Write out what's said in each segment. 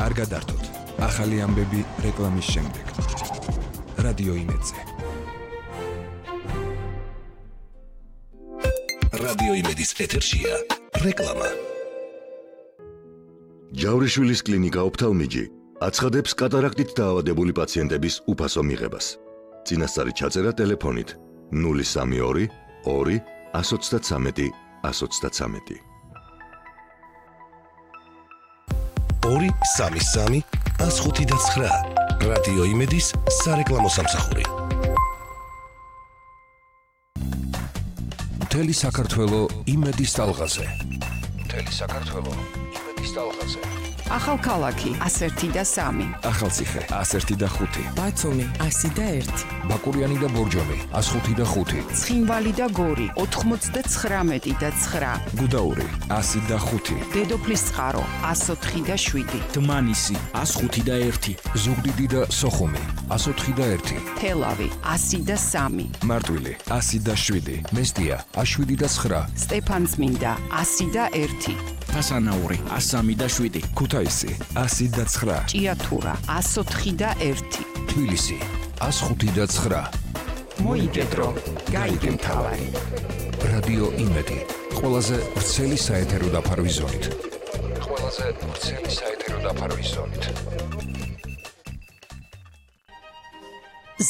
არ გადართოთ. ახალი ამბები რეკლამის შემდეგ. რადიო იმედზე. რადიო იმედის ეთერშია რეკლამა. ჯავრიშვილის კლინიკა ოფთალმიჯი აცხადებს კატარაქტით დაავადებული პაციენტების უფასო მიღებას. წინასწარი ჩაწერა ტელეფონით 032 2 133 133. 233 159 რადიო იმედის სარეკლამო სამსახური. მთელი საქართველო იმედის ტალღაზე. მთელი საქართველო იმედის ტალღაზე. ახალქალაქი 101 და 3. ახალციხე 101 და 5. ბათუმი 100 და 1. ბაკურიანი და ბორჯომი 105 და 5. ცხინვალი და გორი 99 და 9. გუდაური 100 და 5. დედოფლის წყარო 104 და 7. დმანისი 105 და 1. ზუგდიდი და სოხუმი 104 და 1. თელავი 100 და 3. მარტვილი 100 და 7. მესტია 7 და 9. სტეფანწმინდა 100 და 1. ფასანაური 103 და 7. ქუთაისი 100 და 9. ჭიათურა 104 და 1. თბილისი 105 და 9. მოიგედრო, გაიგე მთავარი. რადიო იმედი. ყველაზე ვრცელი საეთერო დაფარვის ზონით. ყველაზე ვრცელი საეთერო დაფარვის ზონით.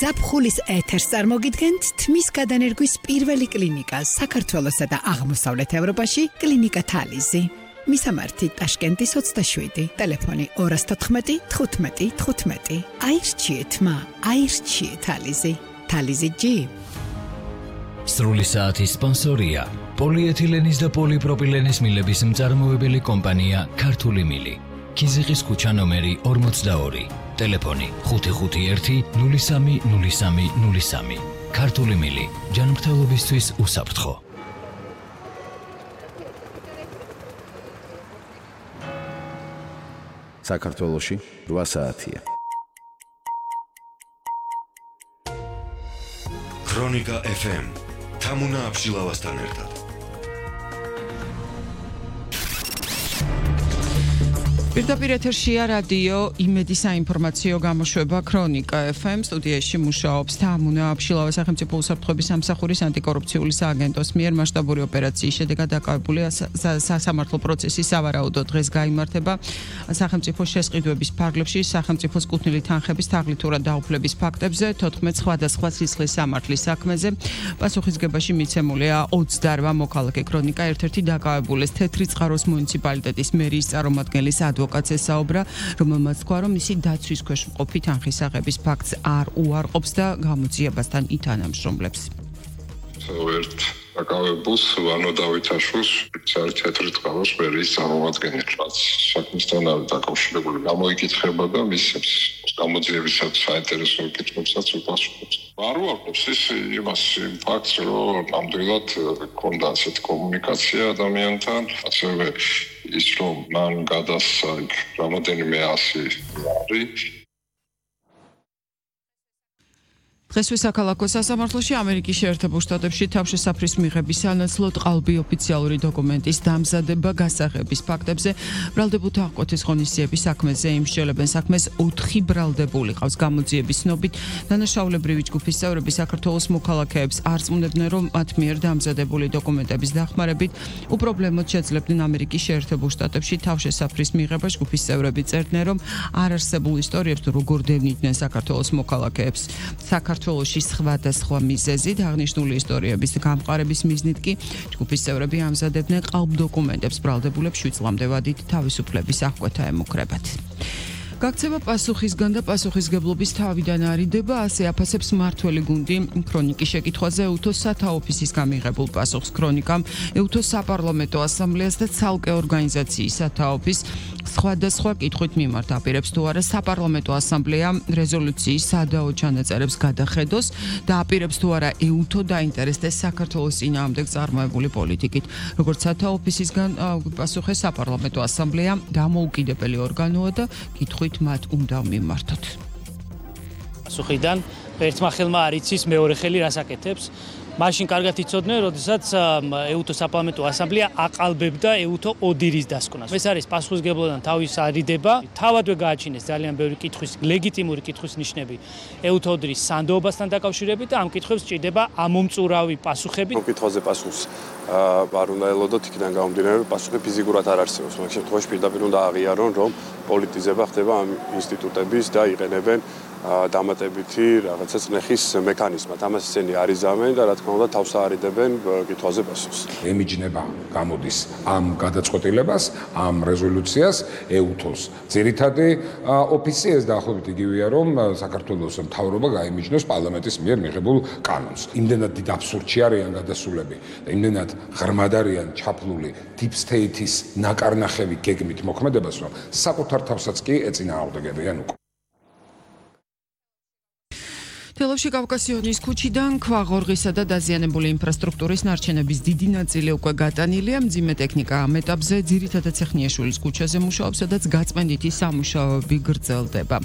ზაფხულის ეთერს წარმოგიდგენთ თმის გადანერგვის პირველი კლინიკა საქართველოსა და აღმოსავლეთ ევროპაში კლინიკა თალიზი. მისამართი ტაშკენტის 27, ტელეფონი 214 15 15. აირჩიეთ მა, აირჩიეთ თალიზი. თალიზი ჯი. სრული საათის სპონსორია პოლიეთილენის და პოლიპროპილენის მილების მწარმოებელი კომპანია ქართული მილი. ქიზიყის ქუჩა ნომერი 42, ტელეფონი 551 03 03 03. ქართული მილი, ჯანმრთელობისთვის უსაფრთხო. საქართველოში 8 საათია. ქრონიკა FM თამუნა აბშილავასთან ერთად. პირდაპირ ეთერშია რადიო იმედის საინფორმაციო გამოშვება ქრონიკა FM. სტუდიაში მუშაობს თამუნა აბშილავა, სახელმწიფო უსაფრთხოების სამსახურის ანტიკორუფციული სააგენტოს მიერ მასშტაბური ოპერაციის შედეგად დაკავებული სასამართლო პროცესი სავარაუდო დღეს გაიმართება სახელმწიფო შესყიდვების ფარგლებში სახელმწიფოს კუთვნილი თანხების თაღლითურად დაუფლების ფაქტებზე 14 სხვადასხვა სისხლის სამართლის საქმეზე. პასუხისგებაში მიცემულია 28 მოქალაქე. ქრონიკა ერთ-ერთი დაკავებულის თეთრი წყაროს მუნიციპალიტეტის მერის წარმომადგენლის ადვოკატს ესაუბრა, რომელმაც თქვა, რომ მისი დაცვის ქვეშ მყოფი თანხის აღების ფაქტს არ უარყოფს და გამოძიებასთან ითანამშრომლებს. ერთ დაკავებულს ვანო დავითაშვილს თეთრი წყაროს მერის წარმომადგენელი, რაც საქმისთან არის დაკავშირებული, გამოიკითხება და მის გამოძიებისას საინტერესო კითხვებსაც უპასუხობს. არ უარყოფს ის იმას ფაქტს, რომ ნამდვილად ჰქონდა ასეთი კომუნიკაცია ადამიანთან, ასევე ის რომ მან გადასცა რამოდენიმე 100 ლარი. დღესვე საქალაქო სასამართლოში ამერიკის შეერთებულ შტატებში თავშესაფრის მიღების სანაცვლოდ ყალბი ოფიციალური დოკუმენტის დამზადება გასაღების ფაქტებზე ბრალდებულთა აღკვეთის ღონისძიების საქმეზე იმსჯელებენ საქმეს 4 ბრალდებული ყავს. გამოძიების ცნობით დანაშაულებრივი ჯგუფის წევრები საქართველოს მოქალაქეებს არ წმუნდებდნენ, რომ მათ მიერ დამზადებული დოკუმენტების დახმარებით უპრობლემოდ შეძლებდნენ ამერიკის შეერთებულ შტატებში თავშესაფრის მიღება. ჯგუფის წევრები წერდნენ, რომ არ არსებულ ისტორიებს თუ როგორ დევნიდნენ საქართველოს მოქალაქეებს. საქართველოში სხვადასხვა მიზეზით აღნიშნული ისტორიების გამყარების მიზნით კი ჯგუფის წევრები ამზადებდნენ ყალბ დოკუმენტებს ბრალდებულებს 7 წლამდე ვადით თავისუფლების აღკვეთა ემუქრებათ. გაქცევა პასუხისგან და პასუხისგებლობის თავიდან არიდება, ასე აფასებს მმართველი გუნდი ქრონიკის შეკითხვაზე EUTO სათა ოფისის გამიღებულ პასუხს. ქრონიკამ EUTO საპარლამენტო ასამბლეას და ცალკე ორგანიზაციის სათა ოფისს სხვადასხვა კითხვით მიმართა. აპირებს თუ არა საპარლამენტო ასამბლეა რეზოლუციის სადაო ჩანაწერებს გადახედოს და აპირებს თუ არა EUTO დაინტერესდეს საქართველოს წინააღმდეგ წარმოებული პოლიტიკით. როგორც სათა ოფისისგან პასუხეს საპარლამენტო ასამბლეა დამოუკიდებელი ორგანოა და კითხვით მათ უნდა მიმართოთ. პასუხიდან ერთმა ხელმა არ იცის მეორე ხელი რას აკეთებს. მაშინ კარგად იცოდნენ, როდესაც ეუთო საპარლამენტო ასამბლეა აყალბებდა ეუთო ოდირის დასკვნას. ეს არის პასუხისმგებლობიდან თავის არიდება. თავადვე გააჩინეს ძალიან ბევრი კითხვის, ლეგიტიმური კითხვის ნიშნები ეუთო ოდირის სანდოობასთან დაკავშირებით და ამ კითხვებს სჭირდება ამომწურავი პასუხები. კითხვაზე პასუხს არ უნდა ელოდოთ, იქიდან გამომდინარე, პასუხი ფიზიკურად არ არსებობს. მაგ შემთხვევაში პირდაპირ უნდა აღიარონ, რომ პოლიტიზება ხდება ამ ინსტიტუტების და იყენებენ დამატებითი რაღაცა წნეხის მექანიზმად. ამას ისინი არ იზამენ და რა თქმა უნდა თავს აარიდებენ კითხვაზე პასუხს. ემიჯნება გამოდის ამ გადაწყვეტილებას, ამ რეზოლუციას ეუთოს ძირითადი ოფისი ეს დაახლოებით იგივეა, რომ საქართველოს მთავრობა გაემიჯნოს პარლამენტის მიერ მიღებულ კანონს. იმდენად დიდ აბსურდში არიან გადასულები და იმდენად ღრმად არიან ჩაფლული deep state-ის ნაკარნახევი გეგმით მოქმედებას, რომ საკუთარ თავსაც კი ეწინააღმდეგებიან უკვე. თელავში კავკასიონის ქუჩიდან ქვაღორღისა და დაზიანებული ინფრასტრუქტურის ნარჩენების დიდი ნაწილი უკვე გატანილია. მძიმე ტექნიკა ამ ეტაპზე ძირითადად ცეხნიაშვილის ქუჩაზე მუშაობს, სადაც გაწმენდითი სამუშაოები გრძელდება.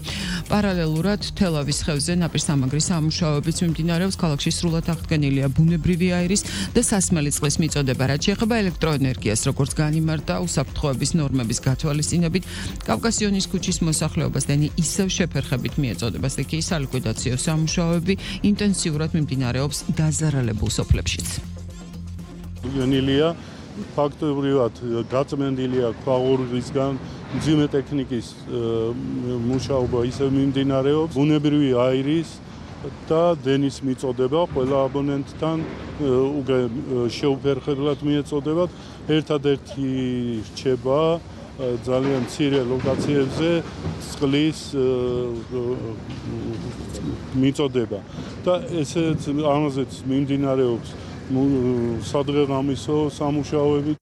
პარალელურად თელავის ხევზე ნაპირსამაგრის სამუშაოებიც მიმდინარეობს. ქალაქში სრულად აღდგენილია ბუნებრივი აირის და სასმელი წყლის მიწოდება, რაც შეეხება ელექტროენერგიას, როგორც განიმარტა უსაფრთხოების ნორმების გათვალისწინებით. კავკასიონის ქუჩის მოსახლეობას დენი ისევ შეფერხებით მიეწოდება სტიქიის სალიკვიდაციო სამუშაოები ინტენსიურად მიმდინარეობს დაზარალებულ სოფლებშიც. გენილია ფაქტობრივად გაწმენდილია ქვაღორღისგან მძიმე ტექნიკის მუშაობა ისევ მიმდინარეობს. ბუნებრივი აირის და დენის მიწოდება ყველა აბონენტთან უკვე შეუფერხებლად მიეწოდებათ. ერთადერთი რჩება ძალიან მცირე ლოკაციებზე წყლის მიწოდება და ესეც ამაზეც მიმდინარეობს სადღეღამისო სამუშაოები.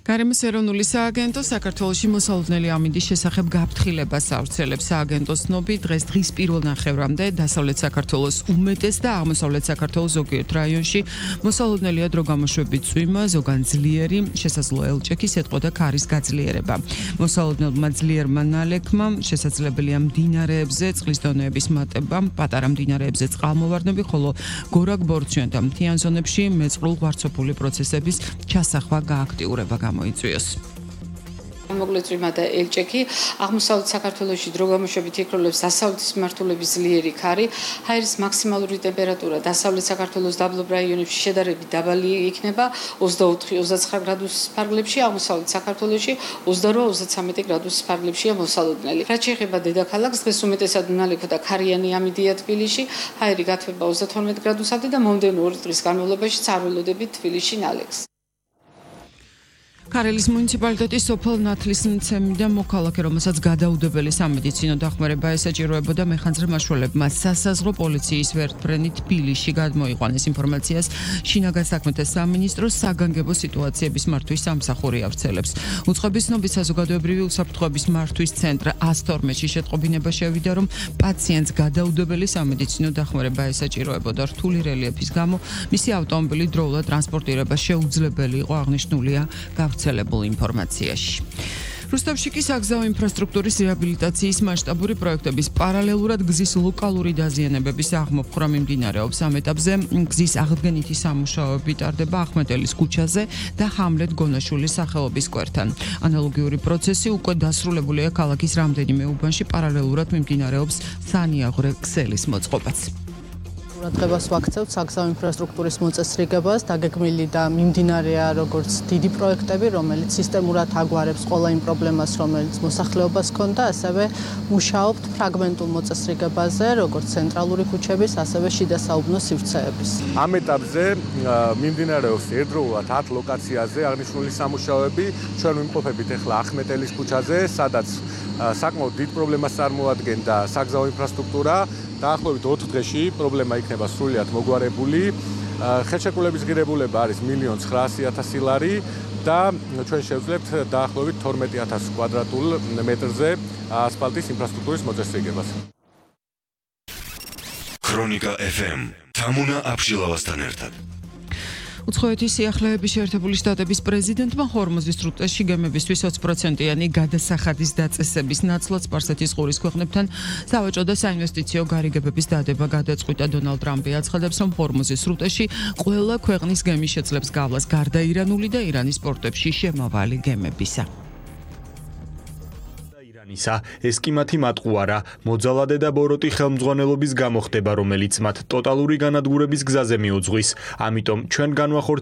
გარემოს ეროვნული სააგენტო საქართველოში მოსალოდნელი ამინდის შესახებ გაფრთხილებას ავრცელებს. სააგენტოს ცნობით დღეს დღის პირველ ნახევრამდე დასავლეთ საქართველოს უმეტეს და აღმოსავლეთ საქართველოს ზოგიერთ რაიონში მოსალოდნელია დროგამოშვებით წვიმა, ზოგან ძლიერი, შესაძლოა ელჭექი, სეტყვა და ქარის გაძლიერება. მოსალოდნელმა ძლიერმა ნალექმა შესაძლებელია მდინარეებზე წყლის დონეების მატება, პატარა მდინარეებზე წყალმოვარდნები, ხოლო გორაკ-ბორცვიან და მთიან ზონებში მეწყრულ ღვარცოფული პროცესების ჩასახვა გააქტიურება გამოიწვიოს. მოკლეწვიმა და ელჭექი აღმოსავლეთ საქართველოში დროგამოშვებით იქროლებს დასავლეთის მიმართულების ძლიერი ქარი, ჰაერის მაქსიმალური ტემპერატურა დასავლეთ საქართველოს დაბლობ რაიონებში შედარებით დაბალი იქნება 24-29 გრადუსის ფარგლებში, აღმოსავლეთ საქართველოში 28-33 გრადუსის ფარგლებშია მოსალოდნელი. რაც შეეხება დედაქალაქს, დღეს უმეტესად უნალექო და ქარიანი ამიდია თბილისში, ჰაერი გათბება 32 გრადუსამდე და მომდევნო 2 დღის განმავლობაში არ ველოდებით თბილისში ნალექს. ქარელის მუნიციპალიტეტის სოფელ ნათლისმცემიდან მოქალაქე, რომელსაც გადაუდებელი სამედიცინო დახმარება ესაჭიროებოდა, მეხანძრე მაშველებმა სასაზღვრო პოლიციის ვერტმფრენი თბილისში გადმოიყვანეს. ინფორმაციას შინაგან საქმეთა სამინისტროს საგანგებო სიტუაციების მართვის სამსახური ავრცელებს. უწყების ცნობით საზოგადოებრივი უსაფრთხოების მართვის ცენტრ 112-ში შეტყობინება შევიდა, რომ პაციენტს გადაუდებელი სამედიცინო დახმარება ესაჭიროებოდა. რთული რელიეფის გამო მისი ავტომობილი დროულად ტრანსპორტირება შეუძლებელი იყო, აღნიშნულია გავრცელებულ ინფორმაციაში. რუსთავში კი საგზაო ინფრასტრუქტურის რეაბილიტაციის მასშტაბური პროექტების პარალელურად გზის ლოკალური დაზიანებების აღმოფხვრა მიმდინარეობს. ამ ეტაპზე გზის აღდგენითი სამუშაოები ტარდება ახმეტელის ქუჩაზე და ჰამლეთ გონაშვილის სახელობის სკვერთან. ანალოგიური პროცესი უკვე დასრულებულია ქალაქის რამდენიმე უბანში, პარალელურად მიმდინარეობს სანიაღვრე ქსელის მოწყობაც. ყურადღებას ვაქცევთ საგზაო ინფრასტრუქტურის მოწესრიგებას, დაგეგმილი და მიმდინარეა როგორც დიდი პროექტები, რომელიც სისტემურად აგვარებს ყველა იმ პრობლემას, რომელიც მოსახლეობას ჰქონდა, ასევე მუშაობთ ფრაგმენტულ მოწესრიგებაზე, როგორც ცენტრალური ქუჩების, ასევე შიდა საუბნო სივრცეების. ამ ეტაპზე მიმდინარეობს ერთდროულად 10 ლოკაციაზე აღნიშნული სამუშაოები. ჩვენ ვიმყოფებით ახლა ახმეტელის ქუჩაზე, სადაც საკმაოდ დიდ პრობლემას წარმოადგენდა საგზაო ინფრასტრუქტურა. დაახლოებით 4 დღეში პრობლემა იქნება სრულიად მოგვარებული. ხელშეკრულების ღირებულება არის 1,900,000 ლარი და ჩვენ შევძლებთ დაახლოებით 12,000 კვადრატულ მეტრზე ასფალტის ინფრასტრუქტურის მოწესრიგებას. ქრონიკა FM თამუნა აბშილავასთან ერთად. უცხოეთის სიახლეების შეერთებული შტატების პრეზიდენტმა ჰორმუზის სრუტეში გემებისთვის 20%-იანი გადასახადის დაწესების ნაცვლად სპარსეთის ყურის ქვეყნებთან სავაჭრო და საინვესტიციო გარიგებების დადება გადაწყვიტა. დონალდ ტრამპი აცხადებს, რომ ჰორმუზის სრუტეში ყველა ქვეყნის გემი შეძლებს გავლას გარდა ირანული და ირანის პორტებში შემავალი გემებისა. ეს კი მათი მატყუარა, მოძალადე და ბოროტი ხელმძღვანელობის გამო ხდება, რომელიც მათ ტოტალური განადგურების გზაზე მიუძღვის. ამიტომ ჩვენ განვახორციელებთ